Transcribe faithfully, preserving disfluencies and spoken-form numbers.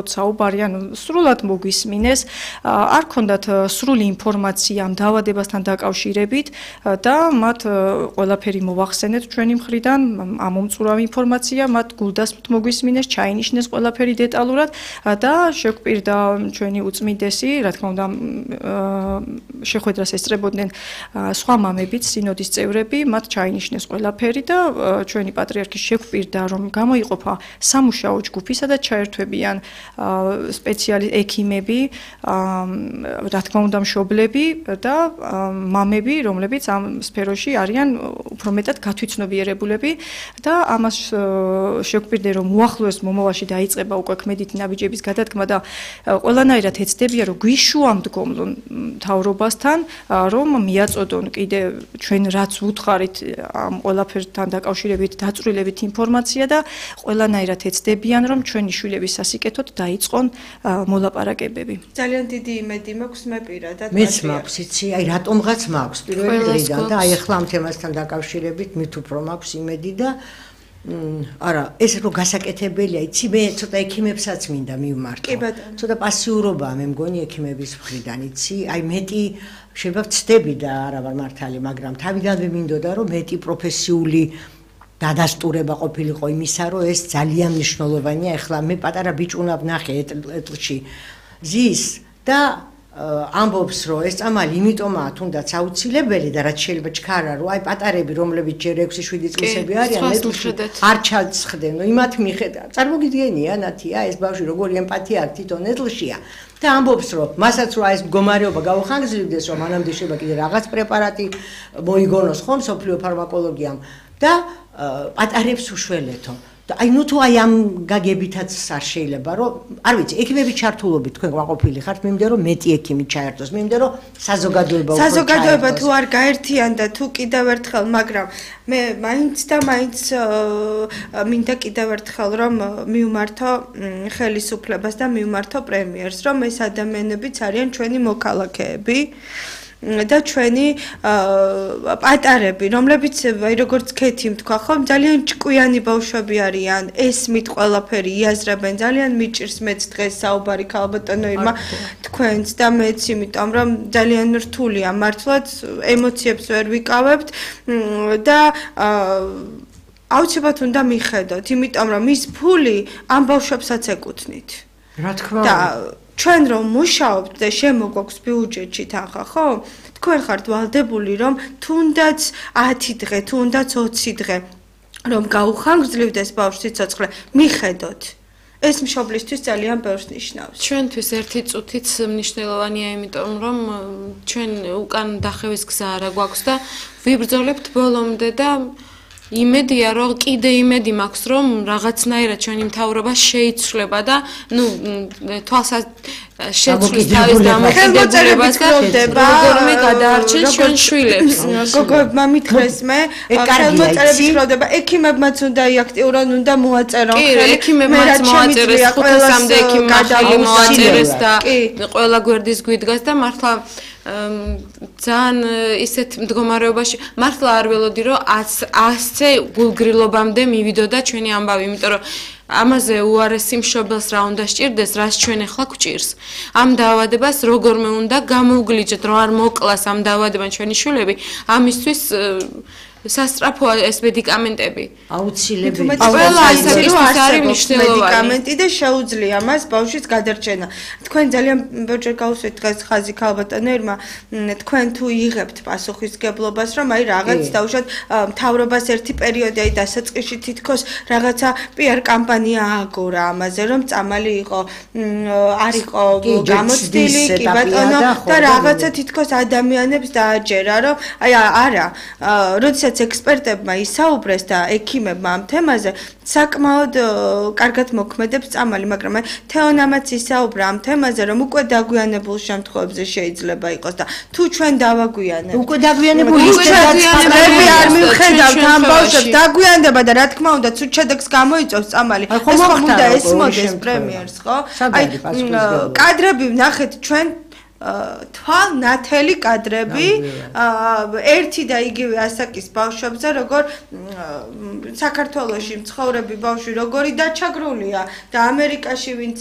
საუბარი, ანუ სრულად მოგვისმინეს, არ ქონდათ სრული ინფორმაცია ამ დაავადებასთან დაკავშირებით და მათ ყველაფერი მოახსენეთ ჩვენი მხრიდან, ამომწურავი ინფორმაცია, მათ გულდასმით მოგვისმინეს, ჩაინიშნეს ყველაფერი დეტალურად და შეგვპირდა ჩვენი უწმიდესი, რა თქმა უნდა, შეხვედრას ესწრებოდნენ სხვა მამებიც, სინოდის წევრები, მათ ჩაინიშნეს ყველაფერი და ჩვენი პატრიარქი შეგვპირდა, რომ გამოიყოფა სამუშაო ჯგუფი, სადაც ჩაერთვებიან სპეციალი ექიმები, რა თქმა უნდა მშობლები და მამები, რომლებიც ამ სფეროში არიან უფრო მეტად გათვითცნობიერებულები და ამას შეგვპირდა, რომ უახლოეს მომავალში დაიწყება უკვე ქმედითი ნაბიჯების გადადგმა და ყველანაირად ეცდებიან, რომ გვიშუამდგომლონ მთავრობასთან, რომ მიაწოდონ კიდე ჩვენ რაც ვუთხარით ამ ყველაფერთან დაკავშირებით დაწვრილებით ინფორმაცია და ყველანაირად ეცდებიან, რომ ჩვენი შვილების სასიკეთოდ დაიწყონ მოლაპარაკებები. ძალიან დიდი იმედი მაქვს მე პირადად. მეც მაქვს, იცი, აი რატომღაც მაქვს პირველი დღიდან და აი ახლა ამ თემასთან დაკავშირებით მით უფრო მაქვს იმედი და არა, ეს რო გასაკეთებელია, იცი, მე ცოტა ექიმებსაც მინდა მივმართო. ცოტა პასიურობაა მე მგონი ექიმების მხრიდან, იცი, აი მეტი შეიძლება ვცდები და არა ვარ მართალი, მაგრამ თავიდანვე მინდოდა რომ მეტი პროფესიული დადასტურება ყოფილიყო იმისა, რომ ეს ძალიან მნიშვნელოვანია. ეხლა მე პატარა ბიჭუნა ვნახე ეტლში ზის და ამბობს, რომ ეს წამალი იმიტომაა თუნდაც აუცილებელი და რაც შეიძლება ჩქარა, რომ აი პატარები, რომლებიც ჯერ ექვსი შვიდი წლისები არიან, ეტლში არ ჩაცხდნენ. ნუ იმათ მიხედავ. წარმოგიდგენია, ნათია, ეს ბავშვი როგორი ემპათია აქვს თვითონ ეტლშია. და ამბობს, რომ მასაც რა ეს მდგომარეობა გაუხანგრძლივდეს, რომ მანამდე შეიძლება კიდე რაღაც პრეპარატი მოიგონოს ხომ სოფლიო ფარმაკოლოგიამ და პატარებს უშველეთო. და აი ნუ თუ აი ამ გაგებითაც არ შეიძლება, რომ არ ვიცი, ექიმების ჩართულობით თქვენ გვაყოფილი ხართ, მე მინდა რომ მეტი ექიმი ჩაერთოს, მე მინდა რომ საზოგადოება უფრო ჩაერთოს. საზოგადოება თუ არ გაერთიანდა, თუ კიდევ ერთხელ, მაგრამ მე მაინც და მაინც მინდა კიდევ ერთხელ რომ მივმართო ხელისუფლებას და მივმართო პრემიერს, რომ ეს ადამიანებიც არიან ჩვენი მოქალაქეები. და ჩვენი პატარები, რომლებიც როგორც ქეთი თქვა ხომ, ძალიან ჭკვიანი ბავშვები არიან, ესმით ყველაფერი იაზრებენ, ძალიან მიჭირს მეც დღეს საუბარი ქალბატონო ირმა თქვენც და მეც, იმიტომ რომ ძალიან რთულია მართლაც, ემოციებს ვერ ვიკავებთ და აუცილებლად უნდა მიხედოთ, იმიტომ რომ ის ფული ამ ბავშვებსაც ეკუთვნით. რა თქმა უნდა. ჩვენ რომ მუშაობთ და შემოგვაქვს ბიუჯეტში თანხა, ხო? თქვენ ხართ ვალდებული, რომ თუნდაც ათი დღე, თუნდაც ოცი დღე, რომ გაუხანგრძლივდეს ბავშვის სიცოცხლე, მიხედოთ. ეს მშობლისთვის ძალიან ბევრს ნიშნავს. ჩვენთვის ერთი წუთიც მნიშვნელოვანია, იმიტომ რომ ჩვენ უკან დახევის გზა არა გვაქვს და ვიბრძოლებთ ბოლომდე და იმედია, რომ კიდე იმედი მაქვს, რომ რაღაცნაირად ჩვენი მთავრობა შეიცვლება და ნუ თვალსა შეცვლის თავის დამოკიდებულებას და როგორმე გადაარჩენს ჩვენ შვილებს. გოგოებმა მითხრეს მე, ხელმოწერების ხილვადება, ექიმებმაც უნდა აქტიურად უნდა მოაწერონ. კი, ექიმებმაც მოაწერეს, ხუთასამდე ექიმი ხელი მოაწერეს და ყველა გვერდის გვიდგას და მართლა ძალიან ისეთ მდგომარეობაში მართლა არ ველოდი რომ ასზე გულგრილობამდე მივიდოდა ჩვენი ამბავი, იმიტომ რომ ამაზე უარესი მშობელს რა უნდა სჭირდეს, რაც ჩვენ ახლა გვჭირს. ამ დაავადებას როგორმე უნდა გამოვგლიჯოთ, რომ არ მოკლას ამ დაავადებამ ჩვენი შვილები, ამისთვის სასწრაფოა ეს მედიკამენტები. აუცილებელი. ყველა ისეთისთვის არის მედიკამენტი და შეუძლია მას ბავშვის გადარჩენა. თქვენ ძალიან ბევრჯერ გავუსვით დღეს ხაზი ქალბატონო ირმა, თქვენ თუ იღებთ პასუხისგებლობას, რომ აი რაღაც დაუშვათ მთავრობას ერთი პერიოდი აი დასაწყისში თითქოს რაღაცა პიარ კამპანია ააგორა ამაზე, რომ წამალი იყო არ იყო გამოცდილი, კი ბატონო და რაღაცა თითქოს ადამიანებს დააჯერა, რომ აი არა, როდესაც ექსპერტებმა ისაუბრეს და ექიმებმა ამ თემაზე საკმაოდ კარგად მოქმედებს წამალი, მაგრამ თეონამაც ისაუბრა ამ თემაზე, რომ უკვე დაგვიანებულ შემთხვევებზე შეიძლება იყოს და თუ ჩვენ დავაგვიანებთ. უკვე დაგვიანებული ისედაც არ მივხედავთ ამ ბავშვებს დაგვიანდება და რა თქმა უნდა ცუდ შედეგს გამოიწვევს წამალი. ეს ხომ უნდა ესმოდეს პრემიერს, ხო? აი კადრები ვნახეთ ჩვენ თვალ ნათელი კადრები ერთი და იგივე ასაკის ბავშვებზე როგორ საქართველოში მცხოვრები ბავშვი როგორი დაჩაგრულია და ამერიკაში ვინც